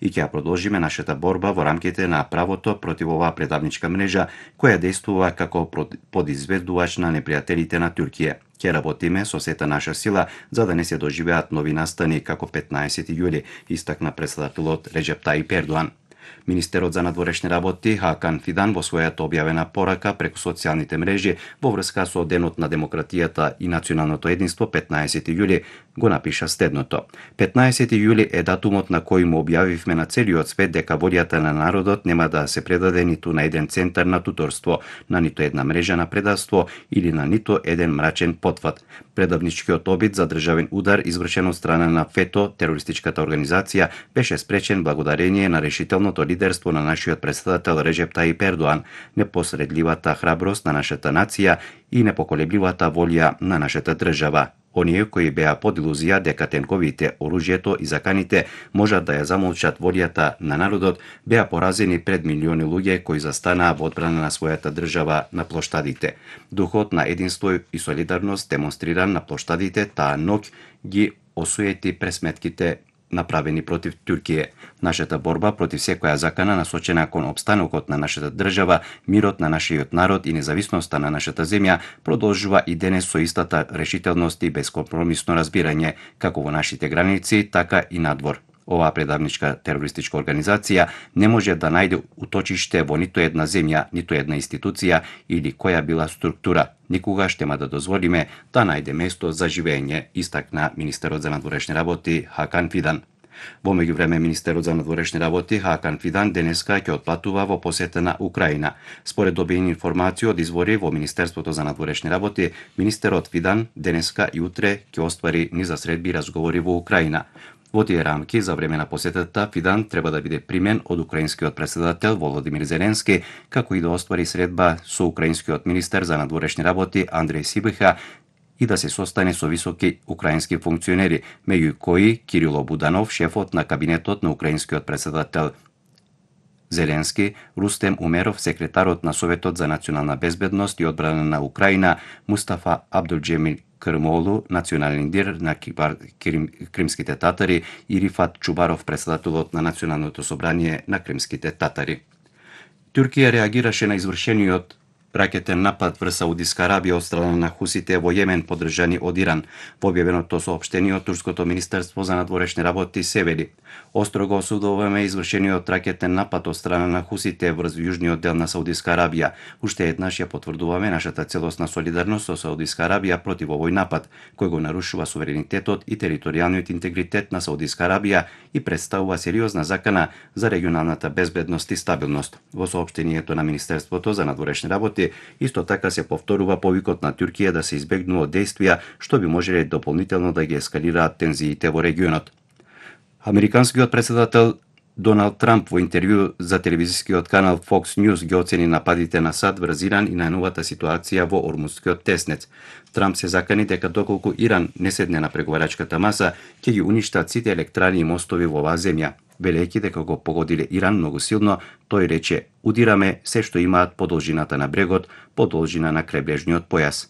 и ќе ја продолжиме нашата борба во рамките на правото против оваа предавничка мрежа која действува како подизведувач на непријателите на Туркија. Ќе работиме со сета наша сила за да не се доживеат нови настани како 15 јули, истакна претседателот Реджеп Тајип Ердоан. Министерот за надворешни работи Хакан Фидан во својата објавена порака преку социјалните мрежи во врска со Денот на демократијата и националното единство 15 јули го напиша следното. 15 јули е датумот на кој му објавивме на целиот свет дека волјата на народот нема да се предаде ниту на еден центар на туторство, на ниту една мрежа на предавство или на ниту еден мрачен потфат. Предавничкиот обид за државен удар извршен од страна на ФЕТО, терористичката организација, беше спречен благодарение на решителното лидерство на нашиот претседател Реджеп Тајип Ердоан, непосредливата храброст на нашата нација и непоколебливата волја на нашата држава. Оние кои беа под илузија дека тенковите, оружјето и заканите можат да ја замолчат волјата на народот, беа поразени пред милиони луѓе кои застанаа во одбрана на својата држава на плоштадите. Духот на единство и солидарност демонстриран на плоштадите таа ноќ ги осуети пресметките направени против Туркија. Нашата борба против секоја закана насочена кон опстанокот на нашата држава, мирот на нашиот народ и независноста на нашата земја продолжува и денес со истата решителност и бескомпромисно разбирање, како во нашите граници, така и надвор. Оваа предавничка терористичка организација не може да најде уточиште во ниту една земја, ниту една институција или која била структура. Никогаш нема да дозволиме да најде место за живење, истакна министерот за надворешни работи Хакан Фидан. Во меѓувреме министерот за надворешни работи Хакан Фидан денеска ќе отпатува во посета на Украина. Според добиени информации од извори во Министерството за надворешни работи, министерот Фидан денеска и утре ќе оствари низа средби и разговори во Украина. Во тие рамки, за време на посетата, Фидан треба да биде примен од украинскиот претседател Володимир Зеленски, како и да оствари средба со украинскиот министер за надворешни работи Андреј Сибиха и да се состане со високи украински функционери, меѓу кои Кирило Буданов, шефот на кабинетот на украинскиот претседател Зеленски, Рустем Умеров, секретарот на Советот за национална безбедност и одбрана на Украина, Мустафа Абдулџемил Крмолу, национален лидер на кримските татари, и Рифат Чубаров, претседателот на Националното собрание на кримските татари. Туркија реагираше на извршениот ракетен напад врз Саудиска Арабија од страна на хусите во Јемен поддржани од Иран. Во објавеното соопштение од Турското министерство за надворешни работи се вели: острого осудуваме извршениот ракетен напад од страна на хусите врз јужниот дел на Саудиска Арабија. Уште еднаш ја потврдуваме нашата целосна солидарност со Саудиска Арабија против овој напад, кој го нарушува суверенитетот и територијалниот интегритет на Саудиска Арабија и представува сериозна закана за регионалната безбедност и стабилност. Во соопштението на Министерството за надворешни работи исто така се повторува повикот на Туркија да се избегнуваат действија што би можеле дополнително да ги ескалираат тензиите во регионот. Американскиот претседател Доналд Трамп во интервју за телевизискиот канал Fox News ги оцени нападите на САД врз Иран и најновата ситуација во Ормузскиот теснец. Трамп се закани дека доколку Иран не седне на преговарачката маса, ќе ги уништат сите електрани и мостови во оваа земја. Велејќи дека го погодиле Иран многу силно, тој рече: удираме се што имаат по должината на брегот, по должина на крајбрежниот појас.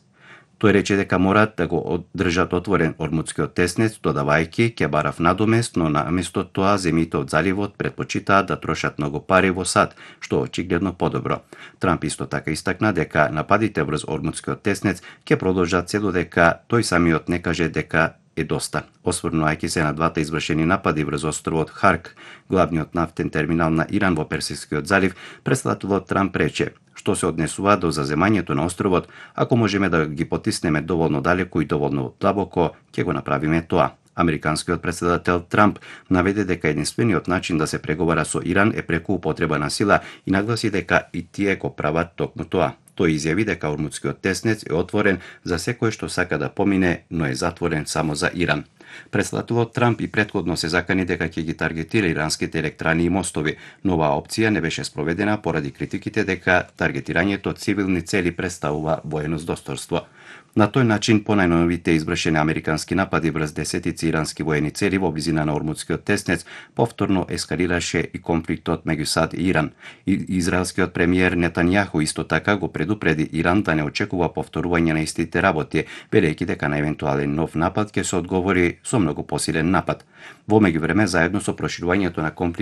Тој рече дека мораат да го одржат отворен Ормузскиот теснец, додавајќи ќе барав надомест, но наместо тоа земјите од заливот предпочитаат да трошат многу пари во САД, што очигледно подобро. Трамп исто така истакна дека нападите врз Ормузскиот теснец ќе продолжат се додека тој самиот не каже дека е доста. Осврнувајќи се на двата извршени напади врз островот Харк, главниот нафтен терминал на Иран во Персискиот залив, претседателот Трамп рече: што се однесува до заземањето на островот, ако можеме да ги потиснеме доволно далеку и доволно длабоко, ќе го направиме тоа. Американскиот претседател Трамп наведе дека единствениот начин да се преговара со Иран е преку употреба на сила и нагласи дека и тие го прават токму тоа. Тој изјави дека Ормузскиот теснец е отворен за секој што сака да помине, но е затворен само за Иран. Претседателот Трамп и претходно се закани дека ќе ги таргетира иранските електрани и мостови, но оваа опција не беше спроведена поради критиките дека таргетирањето цивилни цели представува воено здосторство. На тој начин, по најновите извршени американски напади врз десетици ирански воени цели во близина на Ормузскиот теснец, повторно ескалираше и конфликтот меѓу САД и Иран. Израелскиот премиер Нетањаху исто така го предупреди Иран да не очекува повторување на истите работи, велејќи дека на евентуален нов напад ќе се одговори со многу посилен напад. Во меѓувреме, заедно со проширувањето на конфликтот